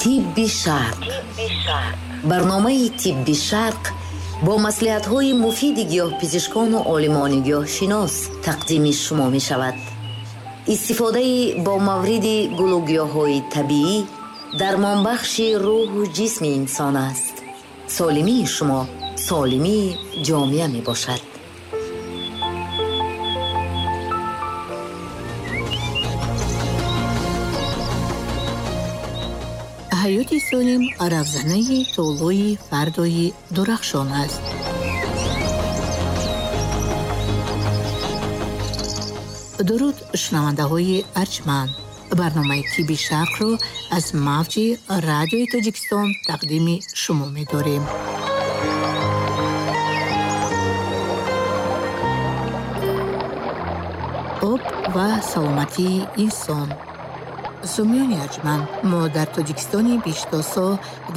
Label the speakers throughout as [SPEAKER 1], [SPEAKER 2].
[SPEAKER 1] Тибби Шарқ. Барномаи Тибби Шарқ бо маслиҳатҳои муфиди гиёҳпизишкону олимони гиёҳшинос тақдими шумо мешавад. Истифодаи бомавриди гулу гиёҳҳои табиӣ дармонбахши рӯҳу ҷисми инсон аст. Солимии шумо солимии ҷомеа мебошад.
[SPEAKER 2] Ҳаёти солим равзанаи толои фардои дурахшон аст. Дуруд, шунавандаҳои арҷманд. Барномаи Тибби Шарқро аз мавҷи Радиои Тоҷикистон тақдими шумо медорем. Об ва саломатии инсон. Сомиёни арҷманд, мо дар Тоҷикистони биштосо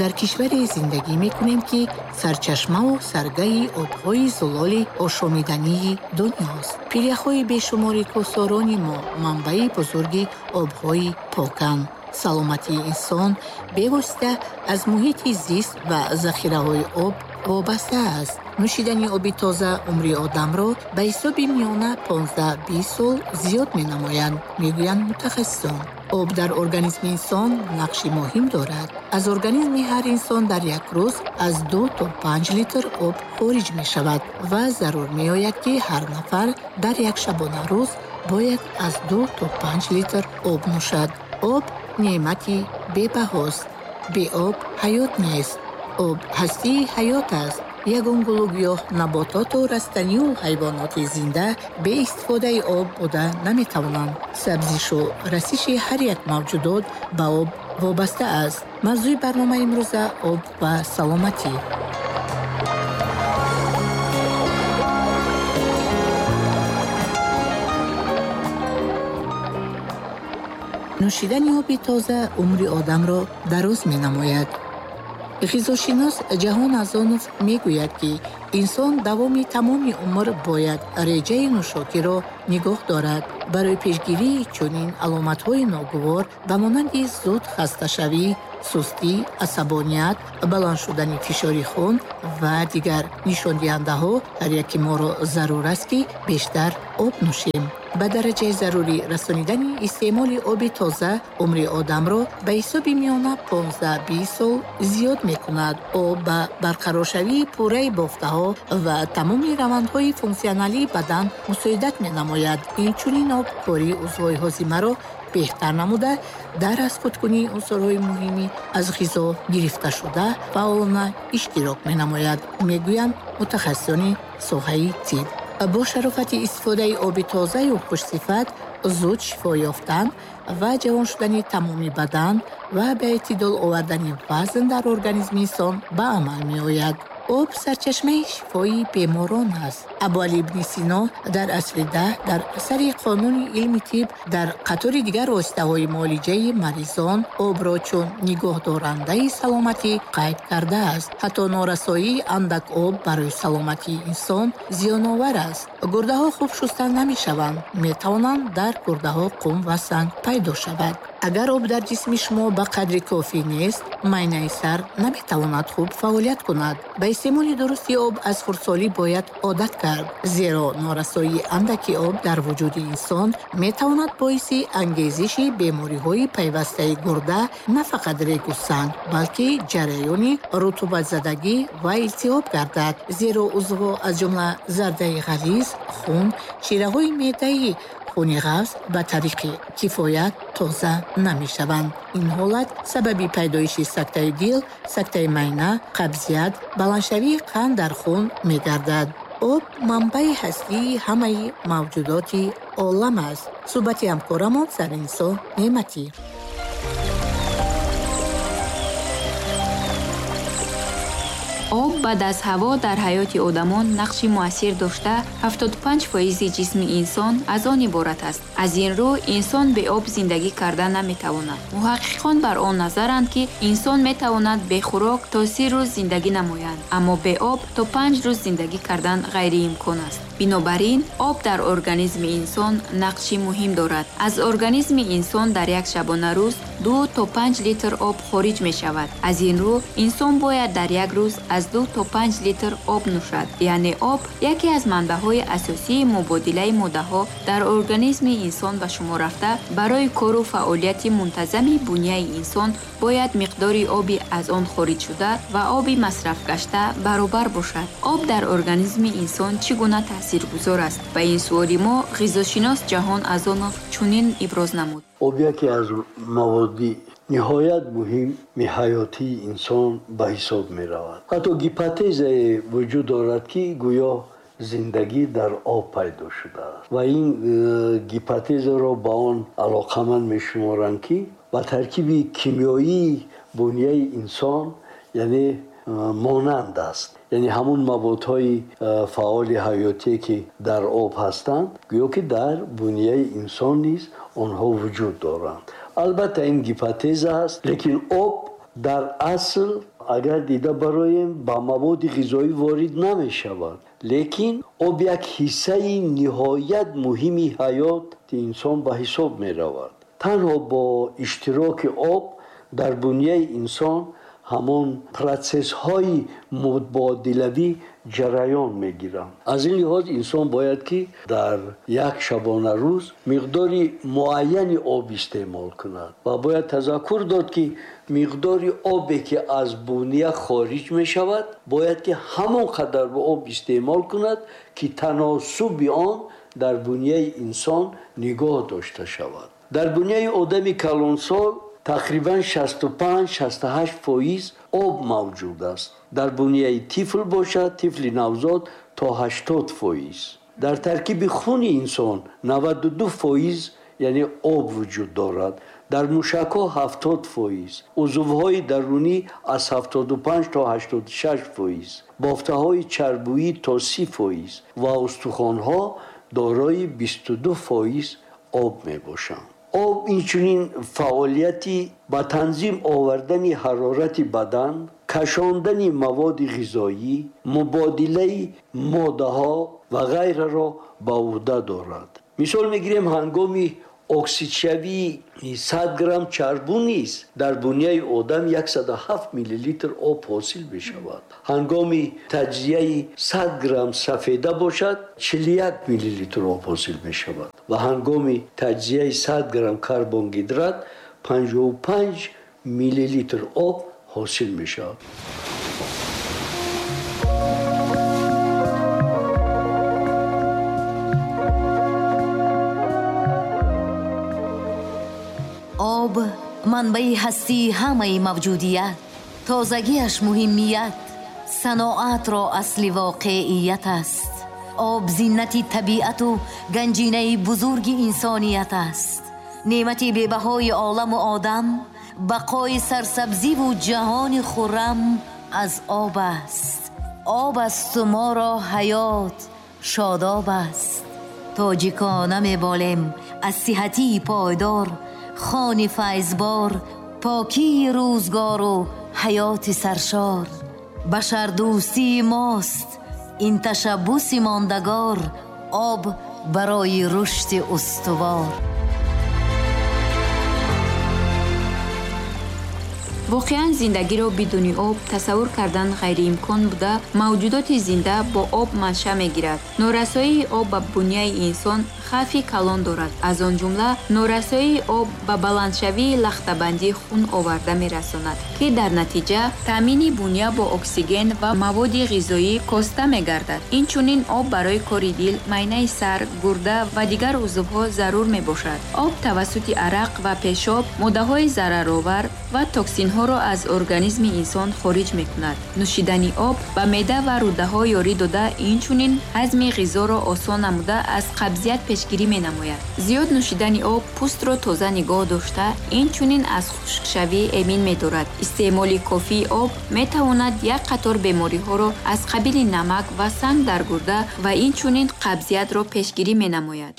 [SPEAKER 2] дар кишваре зиндагӣ мекунем, ки сарчашмаву саргаи обҳои зулоли ошомидании дунёст. Пиряхҳои бешумори кӯҳсорони мо манбаи бузурги обҳои поканд. Саломатии инсон бевосита аз муҳити зист ва захираҳои об вобаста аст. Нӯшидани оби тоза умри одамро ба ҳисоби миёна 15-20 сол зиёд менамояд, мегӯянд мутахассисон. Об дар организми инсон нақши муҳим дорад. Аз организми ҳар инсон дар як рӯз аз 2 то 5 литр об хориҷ мешавад ва зарур меояд, ки ҳар нафар дар як шабонарӯз бояд аз 2 то 5 литр об нӯшад. Об неъмати бебаҳост. Бе об ҳаёт нест. Об ҳастии ҳаёт аст. Ягон гулу гиёҳ, набототу растанию ҳайвоноти зинда бе истифодаи об буда наметавонанд. Сабзишу расиши ҳар як мавҷудот ба об вобаста аст. Мавзӯи барномаи имрӯза об ва саломатӣ. Нӯшидани оби тоза умри одамро дароз менамояд. Ғизошинос Ҷаҳон Азонов мегӯяд, ки инсон давоми тамоми умр бояд реҷаи нӯшокиро нигоҳ дорад. Барои пешгирии чунин аломатҳои ногувор ба монанди зуд хасташавӣ, сустӣ, асабоният, баланд шудани фишори хун ва дигар нишондиҳандаҳо ҳар яки моро зарур аст, ки бештар об нӯшем. Ба дараҷаи зарурӣ расонидани истеъмоли оби тоза умри одамро ба ҳисоби миёна 15-20 сол зиёд мекунад. Об ба барқароршавии пурраи бофтаҳо ва тамоми равандҳои функсионалии бадан мусоидат менамояд. Инчунин об кори узвҳои ҳозимаро беҳтар намуда, дар азхудкунии унсурҳои муҳимӣ аз ғизо гирифташуда фаъолона иштирок менамояд, мегӯянд мутахассисони соҳаи тиб. Бо шарофати истифодаи оби тозаю хушсифат зуд шифо ёфтан ва ҷавон шудани тамоми бадан ва ба эътидол овардани вазн дар организми инсон ба амал меояд. Об сарчашмаи шифои беморон аст. Абуалӣ ибни Сино дар асри 10 дар асари Қонуни илми тиб дар қатори дигар воситаҳои муолиҷаи маризон обро чун нигоҳдорандаи саломатӣ қайд кардааст. Ҳатто норасоии андак об барои саломатии инсон зиёновар аст. Гурдаҳо хуб шуста намешаванд, метавонанд дар гурдаҳо қум ва санг пайдо шавад. Агар об дар ҷисми шумо ба қадри кофӣ нест, майнаи сар наметавонад хуб фаъолият кунад. Ба истеъмоли дурусти об аз хурдсолӣ бояд одат кард, зеро норасоии андаки об дар вуҷуди инсон метавонад боиси ангезиши бемориҳои пайвастаи гурда на фақат регу санг, балки ҷараёни рутубатзадагӣ ва илтиҳоб гардад. Зеро узвҳо аз ҷумла зардаи ғализ, хун, шираҳои меъдаи хуни ғафз ба тариқи кифоят тоза намешаванд. Ин ҳолат сабаби пайдоиши сактаи дил, сактаи майна, қабзият, баландшавии қанд дар хун мегардад. Об манбаи ҳастии ҳамаи мавҷудоти олам аст. Суҳбати ҳамкорамон Заринисо Неъматӣ.
[SPEAKER 3] Об баъд аз ҳаво дар ҳаёти одамон нақши муассир дошта, 75% ҷисми инсон аз он иборат аст. Аз ин рӯ инсон бе об зиндагӣ карда наметавонад. Муҳаққиқон бар он назаранд, ки инсон метавонад бе хӯрок то 30 рӯз зиндагӣ намояд, аммо бе об то 5 рӯз зиндагӣ кардан ғайриимкон аст. Бинобар ин об дар организми инсон нақши муҳим дорад. Аз организми инсон дар як шабонарӯз 2 то 5 литр об хориҷ мешавад. Аз ин рӯ инсон бояд дар як рӯз аз 2 то 5 литр об нӯшад. Яъне об яке аз манбаъҳои асосии мубодилаи моддаҳо дар организми инсон ба шумор рафта, барои кору фаъолияти мунтазами буняи инсон бояд миқдори оби аз он хориҷшуда ва оби масрафгашта баробар бошад. Об дар организми инсон чӣ гуна таъсиргузор аст? Ба ин суоли мо ғизошинос Ҷаҳон Азонов чунин иброз намуд.
[SPEAKER 4] Об яке аз маводи ниҳоят муҳими ҳаётии инсон ба ҳисоб меравад. Ҳатто гипотезае вуҷуд дорад, ки гӯё зиндагӣ дар об пайдо шудааст ва ин гипотезаро ба он алоқаманд мешуморанд, ки ба таркиби кимиёии буняи инсон яъне монанд аст. Яъне ҳамун маводҳои фаъоли ҳаётие, ки дар об ҳастанд, гӯё ки дар буняи инсон низ онҳо вуҷуд доранд. Албатта ин гипотеза аст, лекин об дар асл агар дида бароем ба маводи ғизоӣ ворид намешавад, лекин об як ҳиссаи ниҳоят муҳими ҳаёти инсон ба ҳисоб меравад. Танҳо бо иштироки об дар буняи инсон ҳамон процессҳои мубодилавӣ ҷараён мегиранд. Аз ин лиҳоз инсон бояд ки дар як шабонарӯз миқдори муайяни об истеъмол кунад ва бояд тазаккур дод, ки миқдори обе ки аз буния хориҷ мешавад, бояд ки ҳамон қадар ба об истеъмол кунад, ки таносуби он дар буняи инсон нигоҳ дошта шавад. Дар буняи одами калонсол тақрибан 65-68% об мавҷуд аст. Дар буняи тифл бошад, тифли навзод то 80%. Дар таркиби хуни инсон 92% яъне об вуҷуд дорад. Дар мушакҳо 70%, узвҳои дарунӣ аз 75 то 86%, бофтаҳои чарбӯӣ то 30% ва устухонҳо дорои 22% об мебошанд. Об инчунин фаъолияти ба танзим овардани ҳарорати бадан, кашондани маводи ғизоӣ, мубодилаи моддаҳо ва ғайраро ба уҳда дорад. Мисол мегирем, ҳангоми оксидшавии 100 грамм чарбу низ дар буняи одам 107 миллилитр об ҳосил мешавад. Ҳангоми таҷзияи 100 грамм сафеда бошад, 41 миллилитр об ҳосил мешавад ва ҳангоми таҷзияи 100 грамм карбонгидрат 55 миллилитр об ҳосил мешавад.
[SPEAKER 1] Об манбаи ҳастии ҳамаи мавҷудият, тозагиаш муҳимият, саноатро асли воқеият аст. Об зинати табиату ганҷинаи бузурги инсоният аст. Неъмати бебаҳои оламу одам, бақои сарсабзиву ҷаҳони хуррам аз об аст. Об асту моро ҳаёт шодоб аст. Тоҷикона меболем аз сиҳатии пойдор, хони файзбор, покии рӯзгору ҳаёти саршор. Башардӯстии мост ин ташаббуси мондагор, об барои рушди устувор.
[SPEAKER 3] Воқеан зиндагиро бидуни об тасаввур кардан ғайриимкон буда, мавҷудоти зинда бо об манша мегирад. Норасоии об ба буняи инсон хавфи калон дорад. Аз он ҷумла норасоии об ба баландшавии лахтабандии хун оварда мерасонад, ки дар натиҷа таъмини буня бо оксиген ва маводи ғизоӣ коста мегардад. Инчунин об барои кори дил, майнаи сар, гурда ва дигар узвҳо зарур мебошад. Об тавассути арақ ва пешоб моддаҳои зараровар ва токсинҳоро токсинҳоро аз организми инсон хориҷ мекунад. Нӯшидани об ба меъда ва рӯдаҳо ёрӣ дода, инчунин ҳазми ғизоро осон намуда, аз қабзият пешгирӣ менамояд. Зиёд нӯшидани об пӯстро тоза нигоҳ дошта, инчунин аз хушкшавӣ эмин медорад. Истеъмоли кофии об метавонад як қатор бемориҳоро аз қабили намак ва санг дар гурда ва инчунин қабзиятро пешгирӣ менамояд.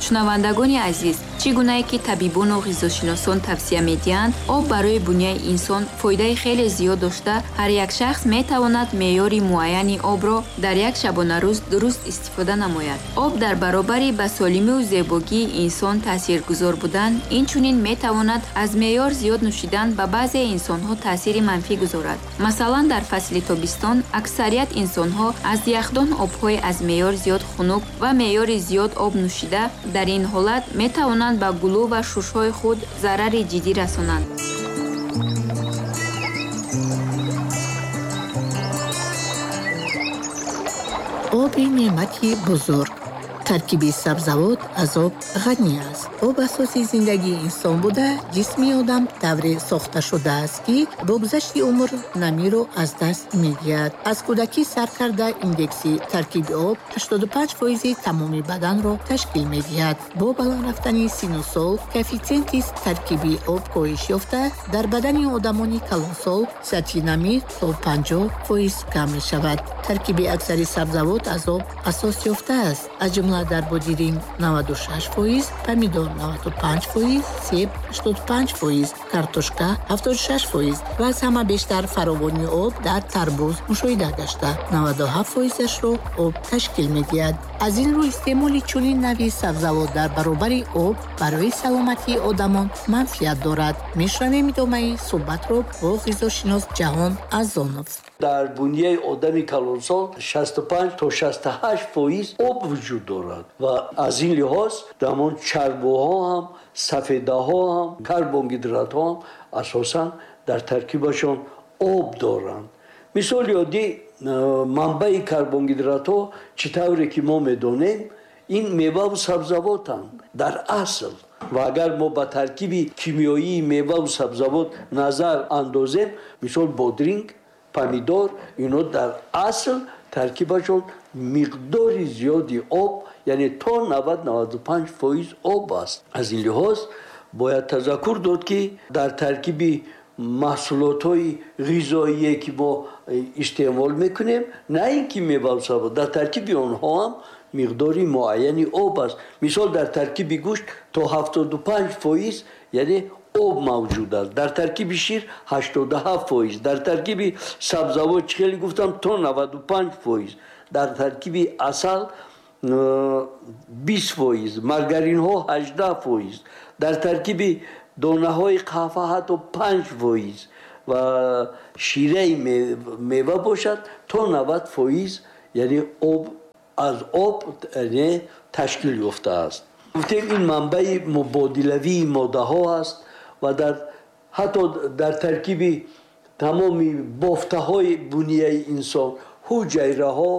[SPEAKER 3] Шунавандагони азиз, чӣ гунае ки табибону ғизошиносон тавсия медиҳанд, об барои буняи инсон фоидаи хеле зиёд дошта, ҳар як шахс метавонад меъёри муайяни обро дар як шабонарӯз дуруст истифода намояд. Об дар баробари ба солимию зебогии инсон таъсиргузор будан, инчунин метавонад аз меъёр зиёд нӯшидан ба баъзе инсонҳо таъсири манфӣ гузорад. Масалан, дар фасли тобистон аксарият инсонҳо аз яхдон обҳои аз меъёр зиёд хунук ва меъёри зиёд об нӯшида, дар ин ҳолат метавонанд ба гулӯ ва шушҳои худ зарари ҷиддӣ расонанд.
[SPEAKER 2] Оби неъмати бузург. Таркиби сабзавот аз об ғанӣ аст. Об асоси зиндагии инсон буда, ҷисми одам тавре сохта шудааст, ки бо гузашти умр намиро аз даст медиҳад. Аз кӯдакӣ сар карда индекси таркиби об 85% тамоми баданро ташкил медиҳад. Бо баланд рафтани сину сол коэффитсиенти таркиби об коҳиш ёфта, дар бадани одамони калонсол сатҳи намӣ то 50% кам мешавад. Таркиби аксари сабзавот аз об асос ёфтааст, аз ҷумла дар бодиринг 96%, помидор 95%, себ 85%, картошка 76% ва аз ҳама бештар фаровонии об дар тарбуз мушоҳида гашта, 97%-ашро об ташкил медиҳад. Аз ин рӯ истеъмоли чунин навъи сабзавот дар баробари об барои саломатии одамон манфиат дорад. Мешунавем идомаи суҳбатро бо ғизошинос Ҷаҳон Азонов.
[SPEAKER 4] Дар буняи одами калонсол 65 то 68% об вуҷуд дорад ва аз ин лиҳоз ҳамон чарбуҳо ҳам, сафедаҳо ҳам, карбонгидратҳо ҳам асосан дар таркибашон об доранд. Мисоли оддӣ, манбаи карбонгидратҳо чӣ тавре ки мо медонем, ин меваву сабзавотанд дар асл. Ва агар мо ба таркиби кимиёии меваву сабзавот назар андозем, мисол бодринг, помидор, ино дар асл таркибашон миқдори зиёди об, яъне то 90-95% об аст. Аз ин лиҳоз бояд тазаккур дод, ки дар таркиби маҳсулотҳои ғизоие ки мо истеъмол мекунем, на ин ки меваву сабзавот, дар таркиби онҳо ҳам миқдори муайяни об аст. Мисол дар таркиби гӯшт то 75% яъне об мавҷуд аст, дар таркиби шир 87%, дар таркиби сабзавот чӣ хеле гуфтам то 95%, дар таркиби асал 20%, маргаринҳо 18%, дар таркиби донаҳои қаҳва ҳатто 5% ва шираи мева бошад то 90% яъне об аз об ташкил ёфтааст. Гуфтем ин манбаи мубодилавии моддаҳо аст ва ҳатто дар таркиби тамоми бофтаҳои буняи инсон, ҳуҷайраҳо,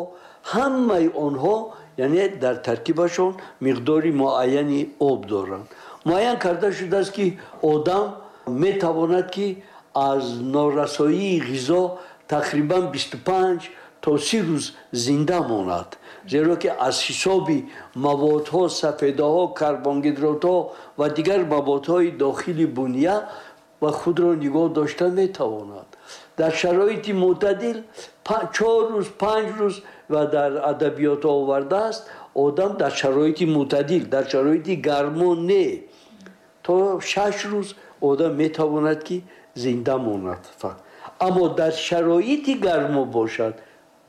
[SPEAKER 4] ҳамаи онҳо яъне дар таркибашон миқдори муайяни об доранд. Муайян карда шудааст, ки одам метавонад, ки аз норасоии ғизо тақрибан 25 то 30 рӯз зинда монад, зеро ки аз ҳисоби маводҳо, сафедаҳо, карбонгидратҳо ва дигар маводҳои дохили буня ва худро нигоҳ дошта метавонад. Дар шароити мӯътадил 4 рӯз, 5 рӯз ва дар адабиётҳо овардааст, одам дар шароити мӯътадил, дар шароити гармо не, то 6 рӯз одам метавонад, ки зинда монад. Аммо дар шароити гармо бошад,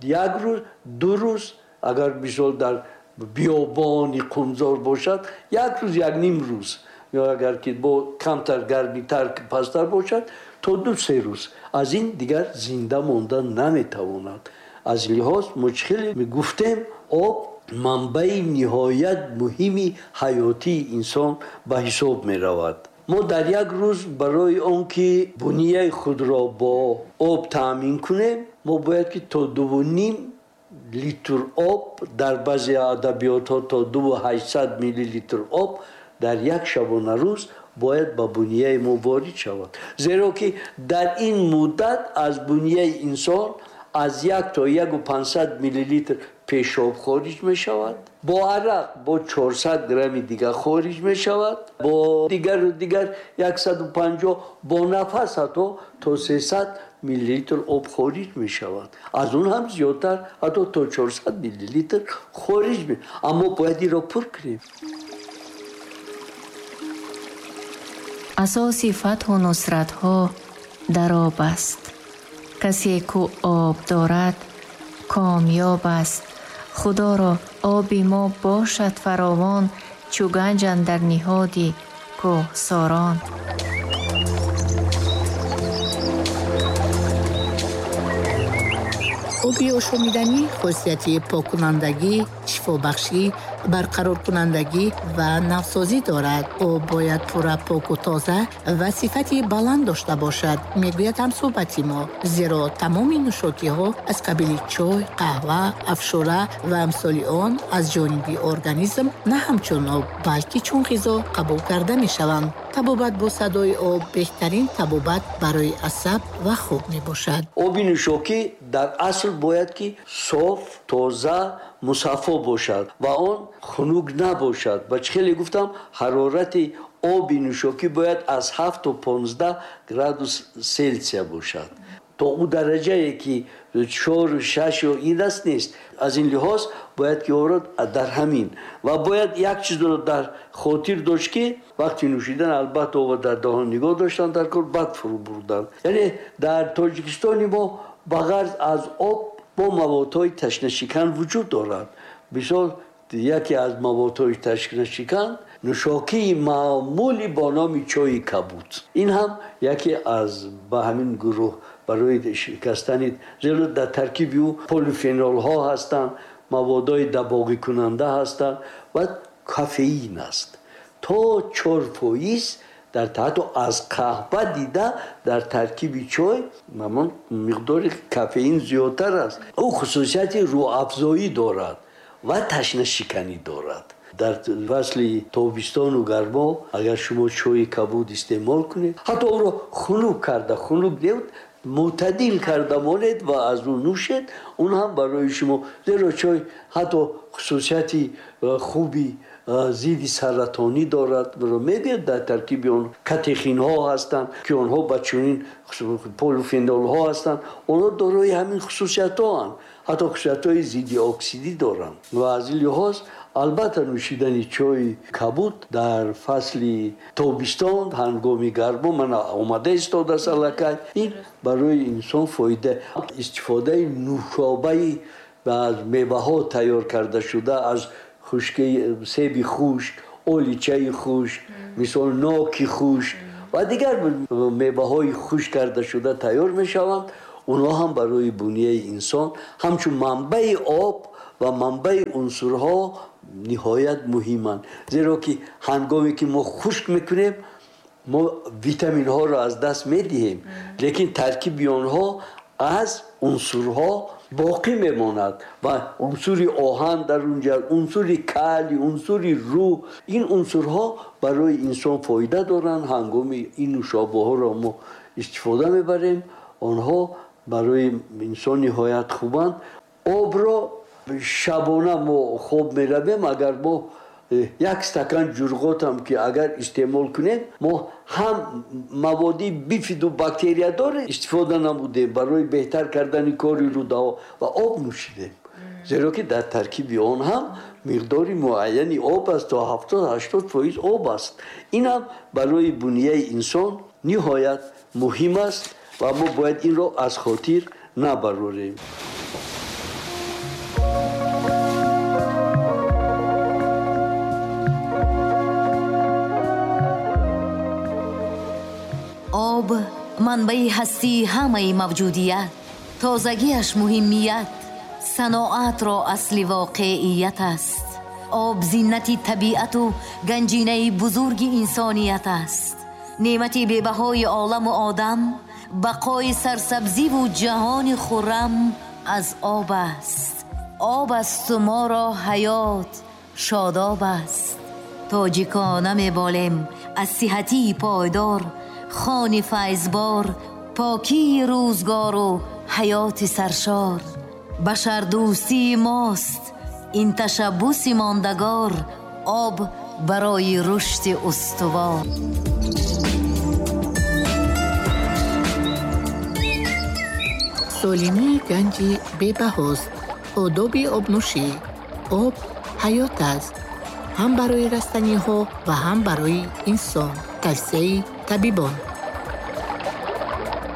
[SPEAKER 4] як рӯз, 2 рӯз, агар мисол дар биёбони қумзор бошад, як рӯз, 1.5 рӯз, ё агар ки бо камтар гармитар пасттар бошад, то 2-3 рӯз. Аз ин дигар зинда монда наметавонад. Аз лиҳоз мо чӣ хеле мегуфтем, об манбаи ниҳоят муҳими ҳаётии инсон ба ҳисоб меравад. Мо дар як рӯз барои он ки буняи худро бо об таъмин кунем, мо бояд ки то 2.5 литр об, дар баъзе адабиётҳо то 2.8 миллилитр об дар як шабонарӯз бояд ба бунияи мо ворид шавад, зеро ки дар ин муддат аз бунияи инсон аз 1 то 1,5 миллилитр пешоб хориҷ мешавад, бо арақ бо 400 грамми дигар хориҷ мешавад, бо дигару дигар 150, бо нафас ҳатто то 300 миллилитр об хориҷ мешавад, аз он ҳам зиёдтар ҳатто то 400 миллилитр хориҷ мешавад. Аммо бояд инро пур кунем.
[SPEAKER 5] Асоси фатҳу нусратҳо дар об аст. Касе ку об дорад комёб аст. Худоро оби мо бошад фаровон, чу ганҷ андар ниҳоди кӯҳсорон.
[SPEAKER 2] Оби ошомиданӣ хосияти поккунандагӣ, шифобахшӣ, барқароркунандагӣ ва навсозӣ дорад. Об бояд пурра поку тоза ва сифати баланд дошта бошад, мегӯяд ҳамсӯҳбати мо, зеро тамоми нӯшокиҳо аз қабили чой, қаҳва, афшура ва амсоли он аз ҷониби организм на ҳамчун об, балки чун ғизо қабул карда мешаванд. Табобат бо садои об беҳтарин табобат барои асаб ва хоб мебошад.
[SPEAKER 4] Оби нӯшокӣ дар асл бояд ки соф, тоза, мусаффо бошад ва он хунук набошад. Ва чӣ хеле гуфтам, ҳарорати оби нӯшокӣ бояд аз 7 то 15 градус Селсия бошад. То ӯ дараҷае ки 4, 6 ё ин аст нест. Аз ин лиҳоз бояд ки ӯро дар ҳамин ва бояд як чизро дар хотир дошт, ки вақти нӯшидан албатта об дар даҳон нигоҳ доштан дар кор, баъд фурӯ бурдан. Яъне дар Тоҷикистони мо ба ғарз аз об бо маводҳои ташнашикан вуҷуд дорад. Мисол, яке аз маводҳои ташнашикан нӯшокии маъмули бо номи чойи кабуд. Ин ҳам яке аз ба ҳамин гурӯҳ барои шикастани, зеро дар таркиби ӯ полифенолҳо ҳастанд, маводҳои дабоғикунанда ҳастанд ва кофеин аст. То 4% дар ҳатто аз қаҳва дида дар таркиби чой ҳамон миқдори кофеин зиёдтар аст. Ӯ хусусияти рӯҳафзоӣ дорад ва ташнашиканӣ дорад. Дар фасли тобистону гармо агар шумо чойи кабуд истеъмол кунед, ҳатто ӯро хунук карда, хунук не, мӯътадил карда монед ва аз ӯ нӯшед, он ҳам барои шумо, зеро чой ҳатто хусусияти хуби зидди саратонӣ дорад. Мегӯяд дар таркиби он катехинҳо ҳастанд, ки онҳо ба чунин полифенолҳо ҳастанд, онҳо дорои ҳамин хусусиятҳоанд, ҳатто хусусиятҳои зидди оксидӣ доранд. Ва аз ин лиҳоз албатта нӯшидани чойи кабуд дар фасли тобистон ҳангоми гармо мана омада истодааст аллакай, ин барои инсон фоида. Истифодаи нӯшобаи аз меваҳо тайёр карда шуда, аз хушки себи хушк, оличаи хушк, мисол ноки хушк ва дигар меваҳои хушк карда шуда тайёр мешаванд, онҳо ҳам барои бунияи инсон ҳамчун манбаи об ва манбаи унсурҳо ниҳоят муҳиманд. Зеро ки ҳангоме ки мо хушк мекунем, мо витаминҳоро аз даст медиҳем, лекин таркиби онҳо аз унсурҳо боқӣ мемонад ва унсури оҳан дар унҷа, унсури калий, унсури рӯ, ин унсурҳо барои инсон фоида доранд. Ҳангоми ин нӯшобаҳоро мо истифода мебарем, онҳо барои инсон ниҳоят хубанд. Обро шабона мо хоб меравем, агар мо як стакан ҷурғотам ки агар истеъмол кунем, мо ҳам маводи бифиду бактериядор истифода намудем барои беҳтар кардани кори рӯдаҳо ва об нӯшидем, зеро ки дар таркиби он ҳам миқдори муайяни об аст, то 70-80% об аст. Ин ҳам барои бунияи инсон ниҳоят муҳим аст ва мо бояд инро аз хотир набарорем.
[SPEAKER 1] Об манбаи ҳастии ҳамаи мавҷудият, тозагиаш муҳимият, саноатро асли воқеият аст. Об зинати табиату ганҷинаи бузурги инсоният аст. Неъмати бебаҳои оламу одам, бақои сарсабзиву ҷаҳони хуррам аз об аст. Об асту моро ҳаёт шодоб аст. Тоҷикона меболем аз сиҳатии пойдор, хони файзбор, покии рӯзгору ҳаёти саршор. Башардӯстии мост ин ташаббуси мондагор, об барои рушди устувор.
[SPEAKER 2] Солимии ганҷи бебаҳост. Одоби обнӯшӣ. Об ҳаёт аст, ҳам барои растаниҳо ва ҳам барои инсон. Тавсияи табибон.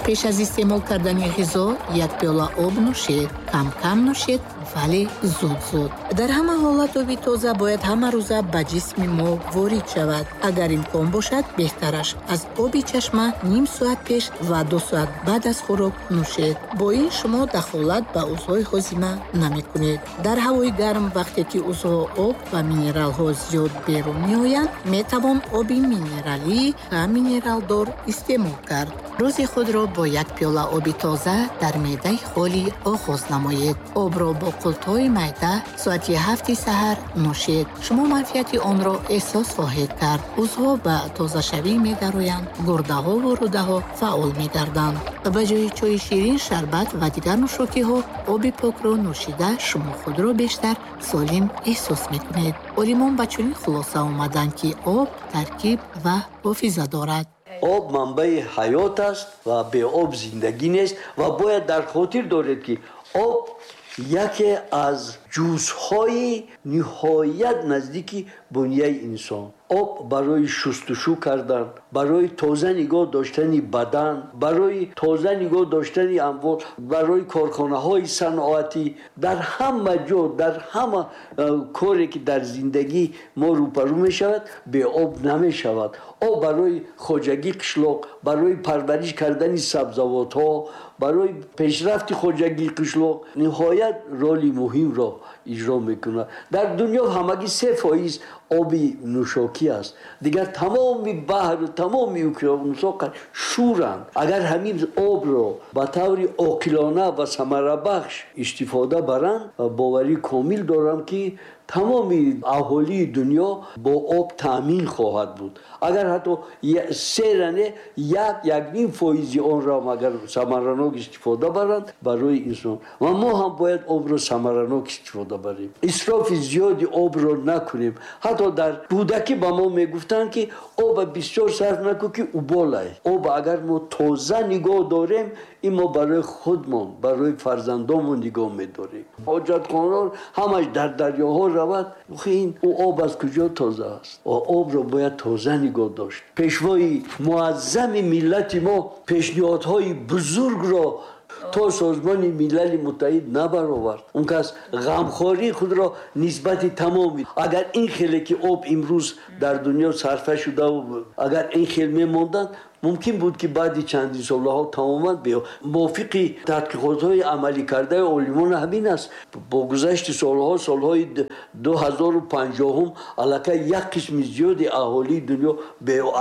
[SPEAKER 2] Пеш аз истеъмол кардани ғизо як пиёла об нӯшед. Кам-кам нӯшед, вале зуд-зуд. Дар ҳама ҳолат оби тоза бояд ҳамарӯза ба ҷисми мо ворид шавад. Агар имкон бошад, беҳтараш аз оби чашма ним соат пеш ва 2 соат баъд аз хӯрок нӯшед. Бо ин шумо дахолат ба узвҳои ҳозима намекунед. Дар ҳавои гарм, вақте ки узвҳо об ва минералҳо зиёд берун меоянд, метавон оби минералӣ ва минералдор истеъмол кард. Рӯзи худро бо як пиёла оби тоза дар меъдаи холӣ оғоз намоед. Обро бо қултҳои майда соати 7 саҳар нӯшед. Шумо манфиати онро эҳсос хоҳед кард. Узвҳо ба тозашавӣ медароянд, гурдаҳову рӯдаҳо фаъол мегарданд. Ба ҷои чойи ширин, шарбат ва дигар нӯшокиҳо оби покро нӯшида шумо худро бештар солим эҳсос мекунед. Олимон ба чунин хулоса омаданд, ки об таркиб ва ҳофиза дорад.
[SPEAKER 4] Об манбаи ҳаёт аст ва бе об зиндагӣ нест ва бояд дар хотир доред, ки об яке аз ҷузъҳои ниҳоят наздики бунияи инсон. Об барои шустушӯ кардан, барои тоза нигоҳ доштани бадан, барои тоза нигоҳ доштани амвол, барои корхонаҳои саноатӣ, дар ҳама ҷо, дар ҳама коре ки дар зиндагӣ мо рӯпарӯ мешавад, бе об намешавад. Об барои хоҷагии қишлоқ, барои парвариш кардани сабзавотҳо, барои пешрафти хоҷагии қишлоқ ниҳоят роли муҳимро иҷро мекунад. Дар дунё ҳамагӣ 3% оби нӯшокӣ аст. Дигар тамоми баҳру тамоми уқёнусҳо шӯранд. Агар ҳамин обро ба таври оқилона ва самарабахш истифода баранд, боварӣ комил дорам, ки тамоми аҳолии дунё бо об таъмин хоҳад буд. Агар ҳатто 1.5% онро агар самаранок истифода баранд барои инсон, ва мо ҳам бояд обро самаранок истифода барем. Исрофи зиёди обро накунем. Ҳатто дар кӯдакӣ ба мо мегуфтанд, ки оба бисёр сарф накун, ки уболай. Об агар мо тоза нигоҳ дорем, ин мо барои худмон, барои фарзандонмон нигоҳ медорем. Ҳоҷатхонаҳо ҳамаш дар дарёҳо равад, ин об аз куҷо тоза аст? Обро бояд тоза нигоҳ дошт. Пешвои муаззами миллати мо пешниҳодҳои бузургро то Созмони Милали Муттаҳид набаровард. Он кас ғамхории худро нисбати тамоми, агар ин хеле ки об имрӯз дар дунё сарфа шуда, агар ин хел мемонданд, мумкин буд, ки баъди чандин солҳо тамоман мувофиқи тадқиқотҳои амалӣ кардаи олимон ҳамин аст. Бо гузашти солҳо, солҳои 2050 аллакай як қисми зиёди аҳолии дунё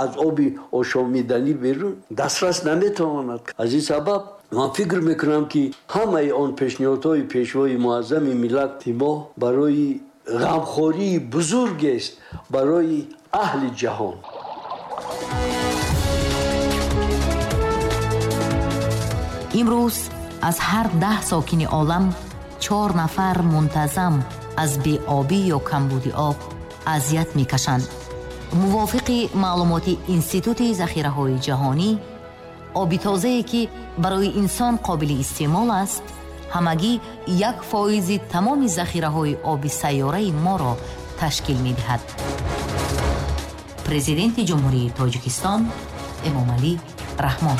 [SPEAKER 4] аз оби ошомиданӣ берун дастрас наметавонад. Аз ин сабаб ман фикр мекунам, ки ҳамаи он пешниҳодҳои пешвои муаззами миллати мо барои ғамхории бузургест барои аҳли ҷаҳон.
[SPEAKER 1] Имрӯз аз ҳар 10 сокини олам 4 нафар мунтазам аз беобӣ ё камбуди об азият мекашанд. Мувофиқи маълумоти Институти захираҳои ҷаҳонӣ, оби тозае ки барои инсон қобили истеъмол аст, ҳамагӣ 1% тамоми захираҳои оби сайёраи моро ташкил медиҳад. Президенти Ҷумҳурии Тоҷикистон Эмомалӣ Раҳмон.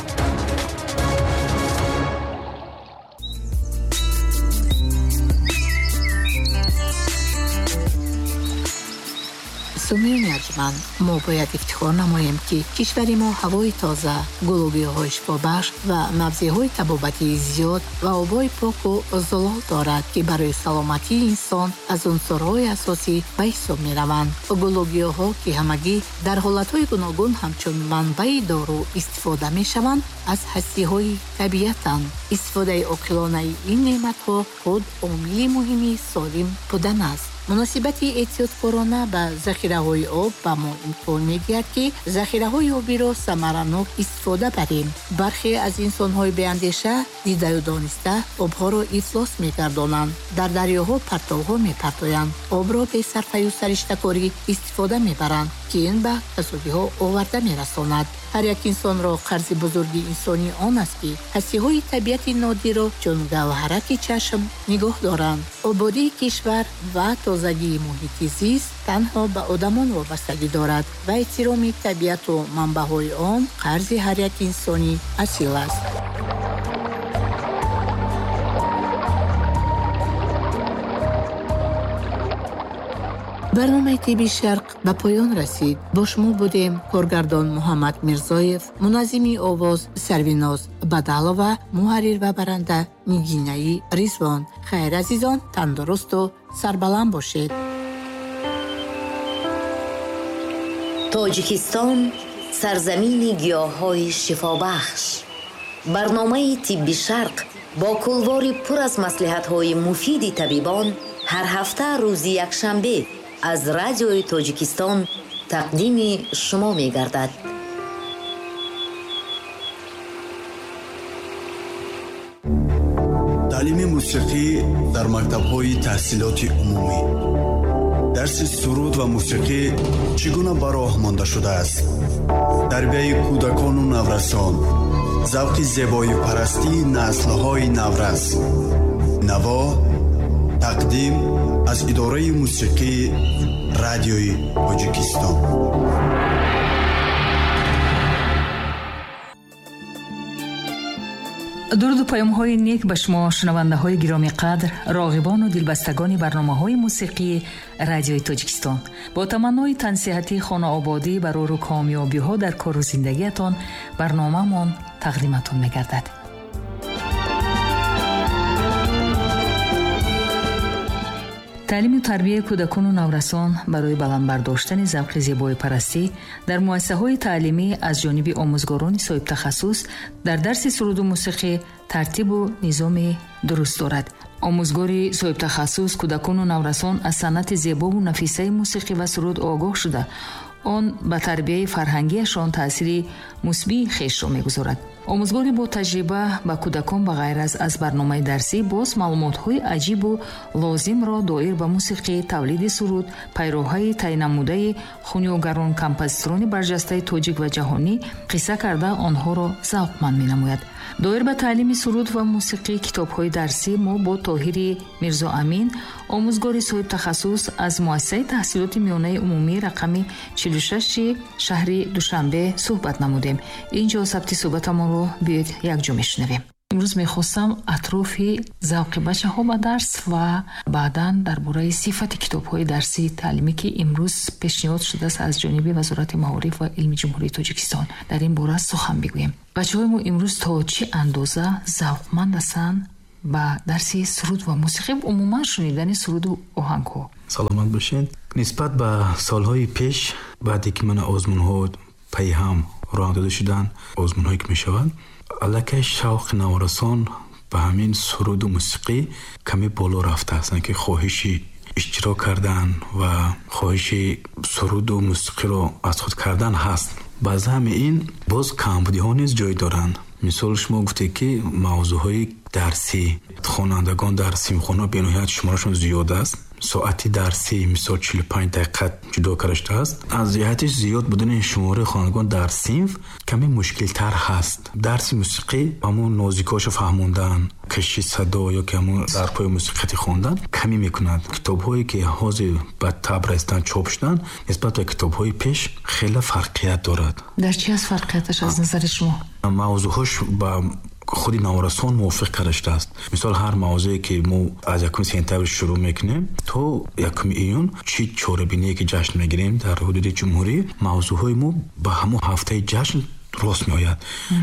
[SPEAKER 2] Сомиёни арҷманд, мо бояд ифтихор намоем, ки кишвари мо ҳавои тоза, гулобиҳои шифобахш ва мавзеъҳои табобатии зиёд ва обҳои поку зулол дорад, ки барои саломатии инсон аз унсурҳои асосӣ ба ҳисоб мераванд. Гулобиҳо, ки ҳамагӣ дар ҳолатҳои гуногун ҳамчун манбаи дору истифода мешаванд, аз ҳастиҳои табиатанд. Истифодаи оқилонаи ин неъматҳо худ омили муҳими солим будан аст. Муносибати эҳтиёткорона ба захираҳои об ба мо имкон медиҳад, ки захираҳои обиро самаранок истифода барем. Бархе аз инсонҳои беандеша дидаю дониста обҳоро ифлос мегардонанд, дар дарёҳо партовҳо мепартоянд, обро бесарфаю сариштакорӣ истифода мебаранд, ки ин ба касодиҳо оварда мерасонад. Ҳар як инсонро қарзи бузурги инсонӣ он аст, ки ҳастиҳои табиати нодирро чун гавҳараки чашм нигоҳ доранд. Ободии кишвар ва тозагии муҳити зист танҳо ба одамон вобастагӣ дорад ва эҳтироми табиату манбаъҳои он қарзи ҳар як инсони асил аст. Барномаи Тибби Шарқ ба поён расид. Бо шумо будем коргардон Муҳаммад Мирзоев, муназзими овоз Сарвиноз Бадалова, муҳаррир ва баранда Нигинаи Ризвон. Хайр, азизон, тандурусту сарбаланд бошед.
[SPEAKER 1] Тоҷикистон сарзамини гиёҳҳои шифобахш. Барномаи Тибби Шарқ бо кулвори пур аз маслиҳатҳои муфиди табибон ҳар ҳафта рӯзи якшанбе аз радиои Тоҷикистон тақдими шумо мегардад.
[SPEAKER 6] Таълими мусиқӣ дар мактабҳои таҳсилоти умумӣ. Дарси суруд ва мусиқӣ чӣ гуна ба роҳ монда шудааст? Тарбияи кӯдакону наврасон, завқи зебоипарастии наслҳои наврас. Наво тақдим аз идораи мусиқии радиои Тоҷикистон.
[SPEAKER 7] Дуруду паёмҳои нек ба шумо шунавандаҳои гиромӣ қадр, роғибону дилбастагони барномаҳои мусиқии радиои Тоҷикистон. Бо таманнои тансиҳатӣ, хонаободӣ, барору комёбиҳо дар кору зиндагиятон барномаамон тақдиматон мегардад. Таълиму тарбияи кӯдакону наврасон барои баланд бардоштани завқи зебоипарастӣ дар муассисаҳои таълимӣ аз ҷониби омӯзгорони соҳибтахассус дар дарси суруду мусиқӣ тартибу низоми дуруст дорад. Омӯзгори соҳибтахассус кӯдакону наврасон аз санъати зебову нафисаи мусиқӣ ва суруд огоҳ шуда, он ба тарбияи фарҳангиашон таъсири мусбии хешро мегузорад. Омӯзгори бо таҷриба ба кӯдакон ба ғайр аз барномаи дарсӣ боз маълумотҳои аҷибу лозимро доир ба мусиқӣ, тавлиди суруд, пайроҳаи тайнамудаи хунёгарон, композиторони барҷастаи тоҷик ва ҷаҳонӣ қисса карда онҳоро завқманд менамояд. Доир ба таълими суруд ва мусиқӣ китобҳои дарсӣ мо бо Тоҳири Мирзоамин, омӯзгори соҳибтахассус аз муассисаи таҳсилоти миёнаи умумӣ рақами 46 шаҳри Душанбе суҳбат намудем. Инҷо сабти суҳбатамонро биёед якҷо мешунавем. Имрӯз мехостам атрофи завқи бачаҳо ба дарс ва баъдан дар бораи сифати китобҳои дарсии таълимӣ, ки имрӯз пешниҳод шудааст аз ҷониби Вазорати маориф ва илми Ҷумҳурии Тоҷикистон, дар ин бора сухан бигӯем. Бачаҳои мо имрӯз то чӣ андоза завқманд ҳастанд ба дарси суруд ва мусиқӣ, умуман шунидани суруду оҳангҳо?
[SPEAKER 8] Саломат бошед. Нисбат ба солҳои пеш, баъде ки мана озмунҳо пайҳам роҳ дода шуданд, озмунҳое ки мешаванд, аллакай шавқи наврасон ба ҳамин суруду мусиқӣ каме боло рафтааст, ки хоҳиши иштирок кардан ва хоҳиши суруду мусиқиро аз худ кардан ҳаст. Ба заъми ин боз камбудиҳо низ ҷой доранд. Мисол, шумо гуфтед, ки мавзӯъҳои дарсӣ хонандагон дар синфхона бениҳоят шуморашон зиёд аст. Соати дарсӣ мисол 45 дақиқа ҷудо карда шудааст. Аз ҷиҳати зиёд будани шумораи хонандагон дар синф каме мушкилтар ҳаст. Дарси мусиқӣ ҳамон нозикиҳошо фаҳмондан, кашиши садо ё ки ҳамон зарбҳои мусиқӣ хондан камӣ мекунад. Китобҳое ки ҳозир ба таб расидан чоп шуданд, нисбат ба китобҳои пеш хеле фарқият дорад.
[SPEAKER 7] Дар чӣ аст фарқияташ аз назари шумо?
[SPEAKER 8] Мавзӯъҳош ба худи наврасон мувофиқ карда шудааст. Мисол, ҳар мавзӯе ки мо аз 1 сентябр шурӯъ мекунем то 1 июн, чӣ чорабиние ки ҷашн мегирем дар ҳудуди ҷумҳурӣ, мавзӯъҳои мо ба ҳамон ҳафтаи ҷашн рост меояд.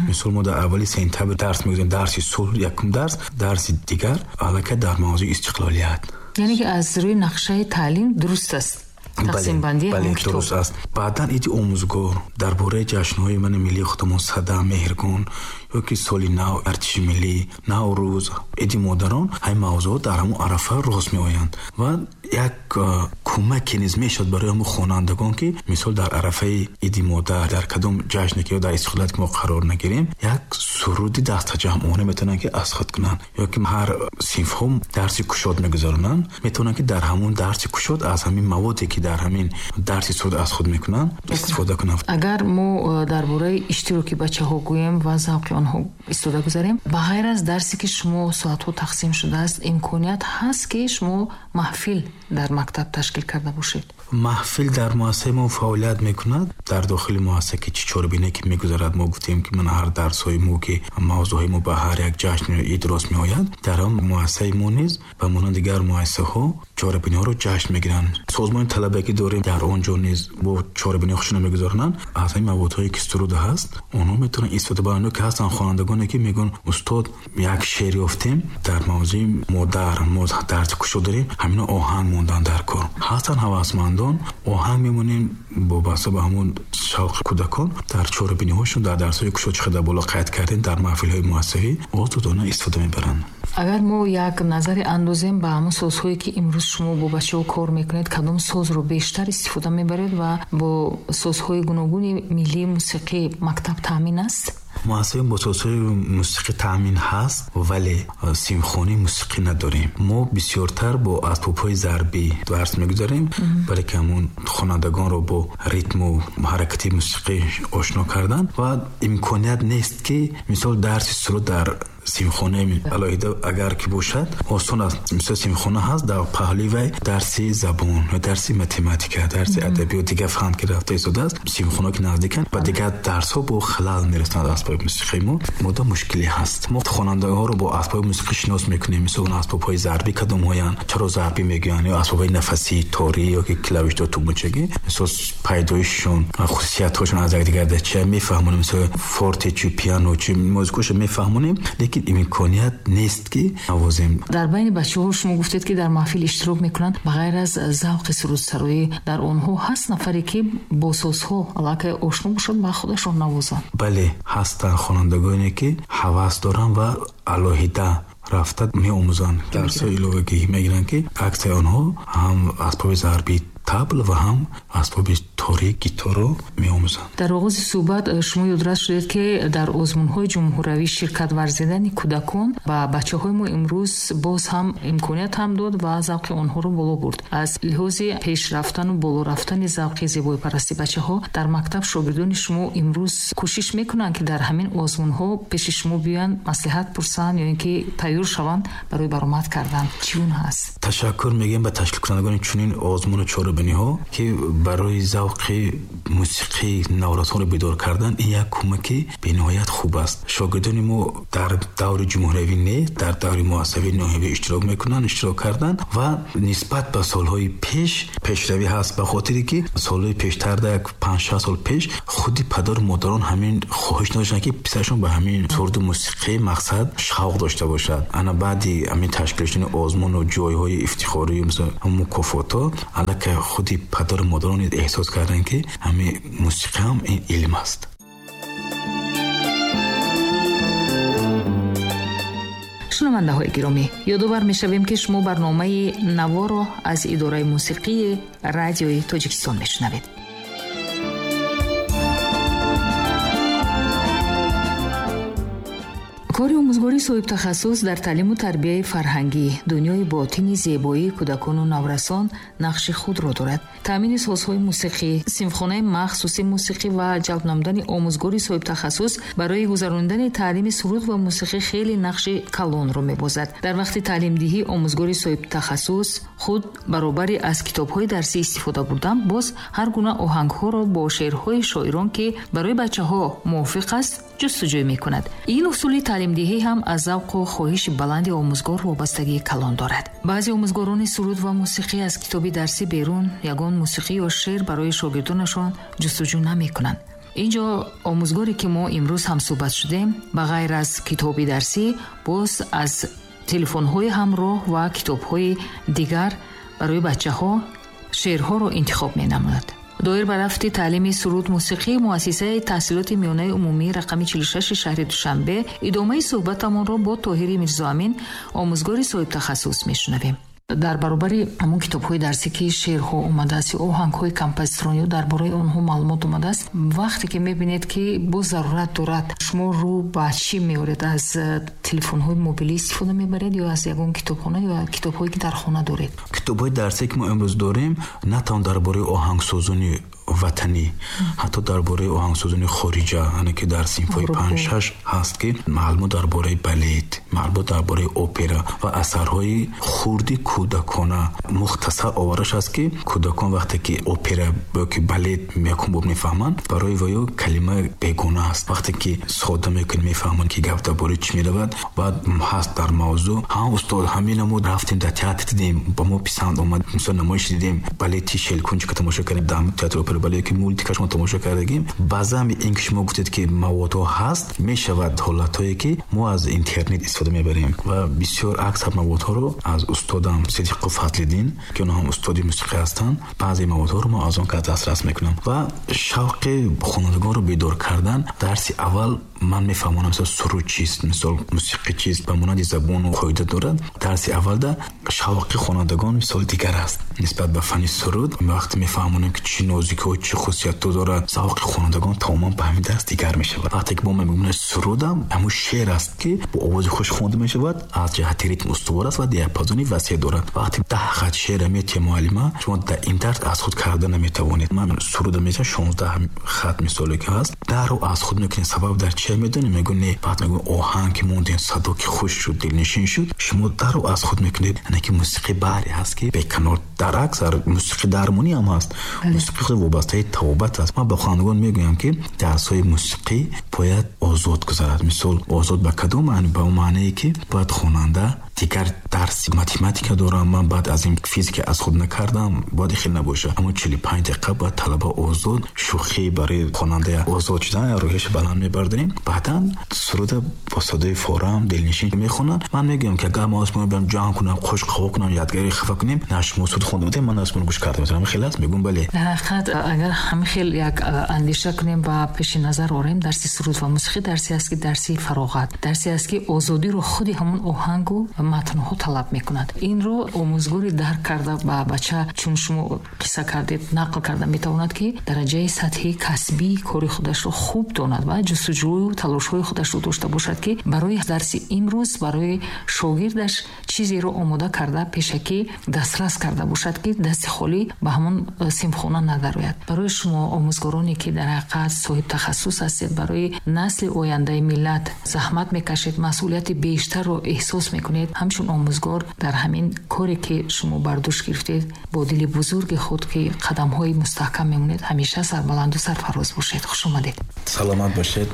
[SPEAKER 8] Мисол, мо дар аввали сентябр дарс мегузорем, дарси сулҳ якум дарс, дарси дигар аллакай дар мавзӯи истиқлолият.
[SPEAKER 7] Яъне ки аз рӯи нақшаи таълим дуруст аст. Тақсимбандии
[SPEAKER 8] Бале, дуруст аст. Баъдан иди омӯзгор, дар бораи ҷашнҳои мани миллии худамон, Сада, Меҳргон ё ки соли нав, артиши миллӣ, Наврӯз, иди модарон, ҳамин мавзӯъҳо дар ҳамон арафа рост меоянд ва як кӯмаке низ мешавад барои ҳамон хонандагон, ки мисол дар арафаи иди модар, дар кадом ҷашне ки ё дар истиқлолият ки мо қарор нагирем, як суруди дастаҷамъона метавонанд ки аз худ кунанд, ё ки ҳар синфҳо дарси кушод мегузаронанд, метавонанд ки дар ҳамон дарси кушод аз ҳамин маводе ки дар ҳамин дарси суруд аз худ мекунанд истифода кунанд.
[SPEAKER 7] Агар мо дар бораи иштироки бачаҳо гӯем ва завқи онҳо истода гузарем, ба ғайр аз дарсе ки шумо соатҳо тақсим шудааст, имконият ҳаст ки шумо маҳфил дар мактаб ташкил карда бошед?
[SPEAKER 8] Маҳфил дар муассисаи мо фаъолият мекунад. Дар дохили муассиса ки чӣ чорабине ки мегузарад, мо гуфтем ки ман ҳар дарсҳои мо ки мавзӯъҳои мо ба ҳар як ҷашн ид рост меояд, дар он муассисаи мо низ ба монанди дигар муассисаҳо чорабиниҳоро ҷашн мегиранд. Созмони талабагӣ дорем, дар он ҷо низ бо чорабиниҳо худшона мегузаронанд. Аз ҳамин маводҳое ки суруд ҳаст, онҳо метавонанд истифода баранд. Ки ҳастанд хонандагоне ки мегӯянд: устод, як шеър ёфтем дар мавзӯи модар, мо дарси кушод дорем, ҳамино оҳанг мондан дар кор. Ҳастанд ҳавасмандон, оҳанг мемонем вобаста ба ҳамон шавқи кӯдакон дар чорабиниҳошон, дар дарсҳои кушод, чӣ қадар боло қайд кардем, дар маҳфилҳои муассисавӣ озодона истифода мебаранд.
[SPEAKER 7] Агар мо як назаре андозем ба ҳамон созҳое ки имрӯз шумо бо бачаҳо кор мекунед, кадом созро бештар истифода мебаред ва бо созҳои гуногуни миллии мусиқӣ мактаб таъмин аст?
[SPEAKER 8] Муассисаи бо созҳои мусиқӣ таъмин ҳаст, вале симфонии мусиқӣ надорем. Мо бисёртар бо асбобҳои зарбӣ дарс мегузарем, бале ки ҳамон хонандагонро бо ритму ҳаракати мусиқӣ ошно кардан ва имконият нест ки мисол дарси суруд дар симхонаи алоҳида агар ки бошад осон аст. Мисол симхона ҳаст, дар паҳлӯи вай дарси забон ё дарси математика, дарси адабиёт, дигар фан ки рафта истодааст, симхона ки наздиканд ба дигар дарсҳо бо халал мерасонад асбоби мусиқии мо. Мода мушкиле ҳаст. Мо хонандаҳоро бо асбоби мусиқӣ шинос мекунем. Мисол асбобҳои зарбӣ кадомҳоянд, чаро зарбӣ мегӯянд, ё асбобҳои нафасӣ, торӣ ё ки клавишдо, тугмачагӣ, мисол пайдоишшон, хусусиятҳошон аз якдигар дар чия мефаҳмонем. Мисол форте чӣ, пиано чӣ, музикаошо мефаҳмонем, лекин имконият нест ки навозем.
[SPEAKER 7] Дар байни бачаҳо шумо гуфтед ки дар маҳфил иштирок мекунанд, ба ғайр аз завқи сурудсароӣ дар онҳо ҳаст нафаре ки бо созҳо аллакай ошно бошад ва худашон навозанд?
[SPEAKER 8] Бале, ҳастанд хонандагоне ки ҳавас доранд ва алоҳида рафта меомӯзанд, дарсҳои иловагӣ мегиранд, ки аксари онҳо ҳам асбоби зарбӣ табл ва ҳам асбоби торӣ гитарро меомӯзанд.
[SPEAKER 7] Дар оғози суҳбат шумо ёдрас шудед ки дар озмунҳои ҷумҳуравӣ ширкат варзидани кӯдакон ба бачаҳои мо имрӯз боз ҳам имконият ҳам дод ва завқи онҳоро боло бурд. Аз лиҳози пешрафтану боло рафтани завқи зебоипарасти бачаҳо дар мактаб шогирдони шумо имрӯз кӯшиш мекунанд ки дар ҳамин озмунҳо пеши шумо биёянд, маслиҳат пурсанд ё ин ки тайёр шаванд барои баромад кардан? Чӣ гуна ҳаст?
[SPEAKER 8] Ташаккур мегӯем ба ташкилкунандагони чунин озмуну чорабиниҳо ки барои завқи мусиқии наврасонро бедор кардан ин як кӯмаки бениҳоят хуб аст. Шогирдони мо дар даври ҷумҳуриявӣ не, дар даври муассисавии ноҳиявӣ иштирок мекунанд, иштирок карданд ва нисбат ба солҳои пеш пешравӣ ҳаст, ба хотире ки солҳои пештар, як 5-6 сол пеш, худи падару модарон ҳамин хоҳиш надоштанд ки писарашон ба ҳамин суруду мусиқӣ мақсад шавқ дошта бошад. Ана баъди ҳамин ташкил шудани озмуну ҷойҳои ифтихорӣ, мисол мукофотҳо, аллакай худи падару модарон эҳсос карданд ки ҳамин мусиқӣ ҳам ин илм аст.
[SPEAKER 7] Шунавандаҳои гиромӣ, ёдовар мешавем ки шумо барномаи наворо аз идораи мусиқии радиои Тоҷикистон мешунавед. Кори омӯзгории соҳибтахассус дар таълиму тарбияи фарҳангӣ, дунёи ботини зебоии кӯдакону наврасон нақши худро дорад. Таъмини созҳои мусиқӣ, синфхонаи махсуси мусиқӣ ва ҷалб намудани омӯзгори соҳибтахассус барои гузаронидани таълими суруд ва мусиқӣ хеле нақши калонро мебозад. Дар вақти таълимдиҳӣ омӯзгори соҳибтахассус худ баробари аз китобҳои дарсӣ истифода бурдан, боз ҳар гуна оҳангҳоро бо шеърҳои шоирон, ки барои бачаҳо мувофиқ аст, ҷустуҷӯй мекунад. Ин усули таълимдиҳӣ ҳам аз завқу хоҳиши баланди омӯзгор вобастагии калон дорад. Баъзе омӯзгорони суруд ва мусиқӣ аз китоби дарсӣ берун ягон мусиқӣ ё шеър барои шогирдонашон ҷустуҷӯ намекунанд. Инҷо омӯзгоре ки мо имрӯз ҳамсӯҳбат шудем, ба ғайр аз китоби дарсӣ, боз аз телефонҳои ҳамроҳ ва китобҳои дигар барои бачаҳо Шеърҳоро интихоб менамояд. Доир ба рафти таълими суруд мусиқӣ муассисаи таҳсилоти миёнаи умумии рақами 46 шаҳри Душанбе идомаи суҳбатамонро бо Тоҳири Мирзоамин, омӯзгори соҳибтахассус, мешунавем. Дар баробари ҳамон китобҳои дарсӣ, ки шеърҳо омадааст ё оҳангҳои композиторон ё дар бораи онҳо маълумот омадааст, вақте ки мебинед, ки боз зарурат дорад, шумо рӯ ба чӣ меоред? Аз телефонҳои мобилӣ истифода мебаред ё аз ягон китобхона ё китобҳое, ки дар хона доред?
[SPEAKER 8] Китобҳои дарсие, ки мо имрӯз дорем, на танҳо дар бораи оҳангсозони ватанӣ, ҳатто дар бораи оҳангсозони хориҷа, ане ки дар синфҳои 5-6 ҳаст, ки маълумот дар бораи балет, маълумот дар бораи опера ва асарҳои хурди кӯдакона мухтасар овараш аст, ки кӯдакон вақте ки опера ё ки балет якум бор мефаҳманд, барои ваё калима бегона аст. Вақте ки сода мекунӣ, мефаҳманд, ки гап дар бораи чӣ меравад. Баъд ҳаст дар мавзӯъ: ҳа, устод, ҳамина мо рафтем, дар театр дидем, ба мо писанд омад. Мисол, намоиш дидем, балети Шелкунчика тамошо кардем, дар театри опера бале ки мультикаш мо тамошо кардагим. Баъзан ин ки шумо гуфтед, ки маводҳо ҳаст, мешавад ҳолатҳое, ки мо аз интернет истифода мебарем ва бисёр аксар маводҳоро аз устодам Сидиқов Фазлиддин, ки онҳо ҳам устоди мусиқӣ ҳастанд, баъзе маводҳоро мо аз он кас дастрас мекунам. Ва шавқи хонандагонро бедор кардан, дарси аввал ман мефаҳмонам, мисол, суруд чист, мисол, мусиқӣ чист, ба монанди забону қоида дорад. Дарси аввалда шавқи хонандагон, мисол, дигар аст нисбат ба фанни суруд. Вақте мефаҳмонем, ки чӣ нозикиҳо, чӣ хусусиятҳо дорад, завқи хонандагон тамоман ба ҳамин дарс дигар мешавад. Вақте ки мо мегӯем, сурудам ҳамун шеър аст, ки бо овози хуш хонда мешавад, аз ҷиҳати ритм устувор аст ва диапазони васеъ дорад. Вақте 10 хат шеъра метиҳа муаллима, шумо дар ин дарс аз худ карда наметавонед. Ман суруда метиҳам, 16 хат, мисоле ки ҳаст, дарро аз худ мекунед. Сабаб дар чия медонем? Мегӯ не. Баъд мегӯ, оҳанг ки мондем, садо ки хуш шуд, дилнишин шуд, шумо дарро аз худ мекунед. Яъне ки мусиқӣ баҳре ҳаст, ки беканор. Дар аксар мусиқӣ дармонӣ ҳам ҳаст, мусиқӣ худ вобастаи тавобат аст. Ман ба хонандагон мегӯям, ки дарсҳои мусиқӣ бояд озод гузарад. Мисол, озод ба кадом маъни? Ба он маънае, ки бояд хонанда дигар дарси математика дорам, ман баъд аз ин физика аз худ накардам, бояд хел набошад. Аммо 45 дақиқа бояд талаба озод, шӯхӣ барои хонанда озод шудан, рӯҳияш баланд мебардорем. Баъдан суруда бо садои форам дилнишин мехонанд. Ман мегӯям, ки агар мо осмон биям, ҷамъ кунам, хуш қаво кунам, ядгари хафа кунем, на шумо суруд хонда будем, ман осмон гӯш карда метавонам. Хел аст? Мегӯям, бале.
[SPEAKER 7] Дар ҳақиқат, агар ҳамин хел як андеша кунем ва пеши назар орем, дарси суруд ва мусиқӣ дарсе аст, ки дарси фароғат, дарсе аст, ки озодиро худи ҳамон оҳангу матнҳо талаб мекунад. Инро омӯзгори дарк карда ба бача, чун шумо қисса кардед, нақл карда метавонад, ки дараҷаи сатҳи касбии кори худашро хуб донад ва ҷустуҷӯю талошҳои худашро дошта бошад, ки барои дарси имрӯз барои шогирдаш чизеро омода карда, пешакӣ дастрас карда бошад, ки дасти холӣ ба ҳамон синфхона надарояд. Барои шумо, омӯзгороне, ки дар ҳақиқат соҳибтахассус ҳастед, барои насли ояндаи миллат заҳмат мекашед, масъулияти бештарро эҳсос мекунед, ҳамчун омӯзгор дар ҳамин коре, ки шумо бар дӯш гирифтед, бо дили бузурги худ, ки қадамҳои мустаҳкам мемонед, ҳамеша сарбаланду сарфароз бошед. Хуш омадед.
[SPEAKER 8] Саломат бошед.